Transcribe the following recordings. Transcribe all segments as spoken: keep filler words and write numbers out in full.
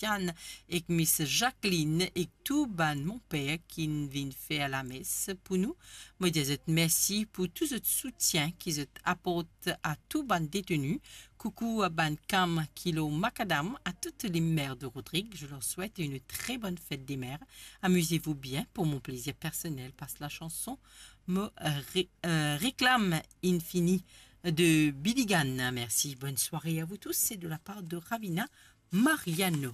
Christiane ek Miss Jacqueline ek tou bann monper ki'nn vinn fer lames pou nou. Mo dir zot mersi pou tou zot soutien ki zot aport a tou bann deteni. Coucou à bann kam ki lor makadam, à toutes les mères de Rodrigue, je leur souhaite une très bonne fête des mères. Amusez-vous bien pour mon plaisir personnel, passe la chanson. Mo ré-, euh, réclame Infini de Billy Gann. Merci, bonne soirée à vous tous. C'est de la part de Ravina Mariano.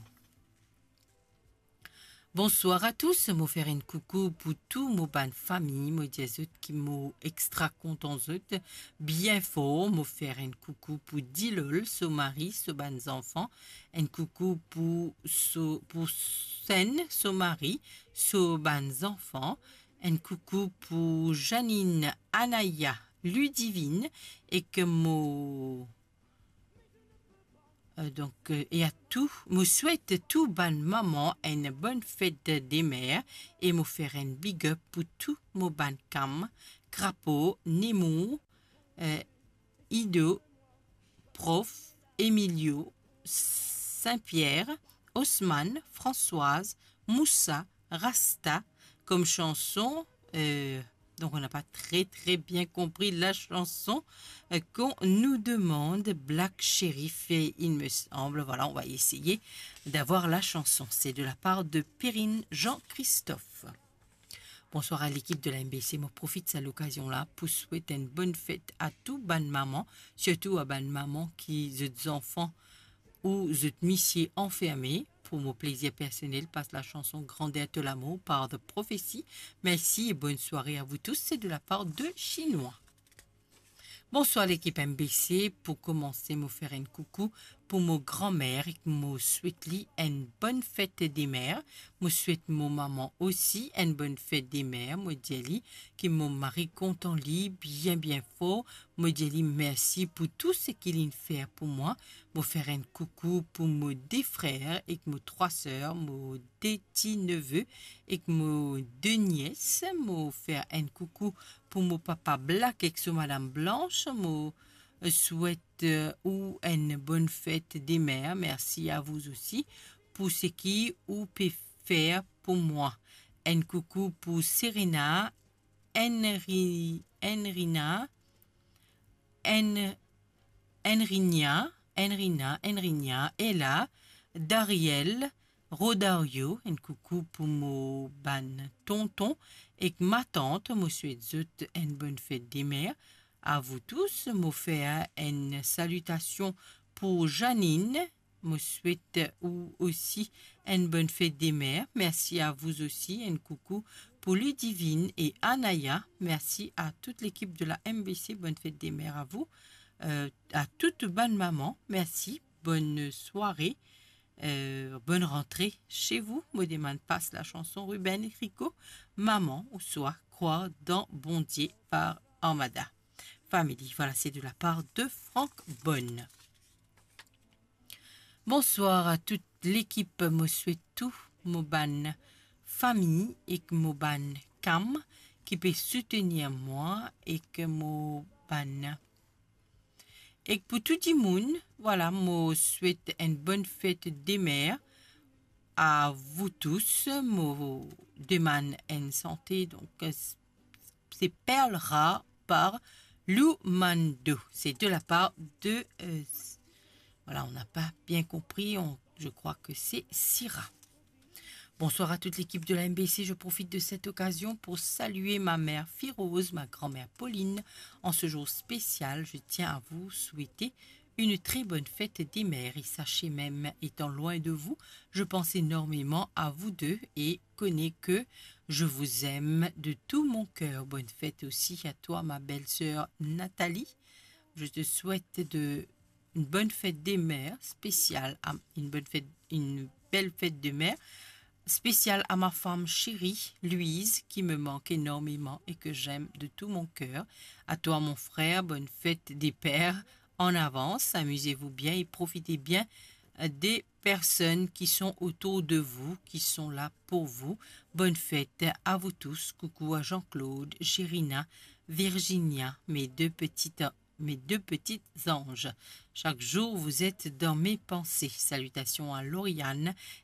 Bonsoir à tous, mo fer enn koukou pou tou mo bann fami, mo dir zot ki mo extra kontan zot bien for, mo fer enn koukou pou Dilol, so mari, so bann zanfan, enn koukou pou so, pou Sen, so mari, so bann zanfan, enn koukou pou Janine, Anaya, Ludivine, ek mo Euh, donk, euh, e a tou, mo swet tou bann mama enn bonn fet de mer e mo fer enn big up pou tou mo bann kam, Krapo, Nemour, euh, Ido, Prof, Emilio, Saint-Pierre, Osman, Françoise, Moussa, Rasta, comme chanson, euh, donc on n'a pas très, très bien compris la chanson, euh, qu'on nous demande Black Sherif, et il me semble. Voilà, on va essayer d'avoir la chanson. C'est de la part de Perrine Jean-Christophe. Bonsoir à l'équipe de la M B C. Mo profit sa lokazion la pou swet enn bonn fet a tou bann mama, sirtou a bann mama ki zot zanfan ou zot misie anferme. Pour mon plaisir personnel, passe la chanson Grandeur de l'amour par The Prophecy. Merci et bonne soirée à vous tous. C'est de la part de Chinois. Bonsoir lekip M B C. Pou komanse, mo fer enn koukou pou mo granmer ek mo swet li enn bonn fet de mer. Mo swet mo mama osi enn bonn fet de mer. Mo dir li ki mo mari kontan li bien, bien for. Mo dir li mersi pou tou seki li'nn fer pou mwa. Mo fer enn koukou pou mo de frer ek mo trwa ser, mo de ti neve ek mo de nies. Mo fer enn koukou pou mo papa Black ek so madam Blanche. Mo, euh, swet, euh, ou enn bonn fet de mer. Mersi a vous aussi pou seki ou pe fer pou mwa. Enn koukou pou Serena, Henri, Henrina, Hen-, Henrinia, Henrina, Henrinia, Ella, Dariel, Rodario, enn koukou pou mo bann tonton ek matant, mo swet zot enn bonn fet de mer. A vous tous, mo fer enn salitasion pou Janine, mo swet ou osi enn bonn fet de mer. Mersi a vous aussi, enn koukou pou Ludivine e Anaya. Mersi a tout lekip de la M B C, bonn fet de mer a vous, euh, a tout bann mama. Mersi, bonn sware, euh, bonn rantre chez vous. Mo demann pas la chanson Ruben Rico, Maman ouswa Croire dans Bondie par Armada Family. Voilà, c'est de la part de Franck Bonne. Bonsoir a tout lekip, mo swet tou mo bann fami ek mo bann kam ki pe soutenir mwa ek mo bann, ek pou tou dimoun, voilà, mo swet enn bonn fet de mer a vous tous. Mo demann enn sante, donk, euh, c'est Perle rare par Lou Mando. C'est de la part de, euh, voilà, on n'a pas bien compris, on, je crois que c'est Syrah. Bonsoir à toute l'équipe de la M B C. Je profite de cette occasion pour saluer ma mère Firose, ma grand-mère Pauline. En ce jour spécial, je tiens à vous souhaiter une très bonne fête des mères. Et sachez même, étant loin de vous, je pense énormément à vous deux et connais que je vous aime de tout mon cœur. Bonne fête aussi à toi, ma belle-sœur Nathalie. Je te souhaite de, une bonne fête des mères spéciale à, une bonne fête, une belle fête de mère spéciale à ma femme chérie, Louise, qui me manque énormément et que j'aime de tout mon cœur. À toi, mon frère, bonne fête des pères en avance. Amusez-vous bien et profitez bien, euh, des personnes qui sont autour de vous, qui sont là pour vous. Bonne fête à vous tous. Coucou à Jean-Claude, Gérina, Virginia, mes deux petites, mes deux petits anges. Chaque jour, vous êtes dans mes pensées. Salutations à Lauriane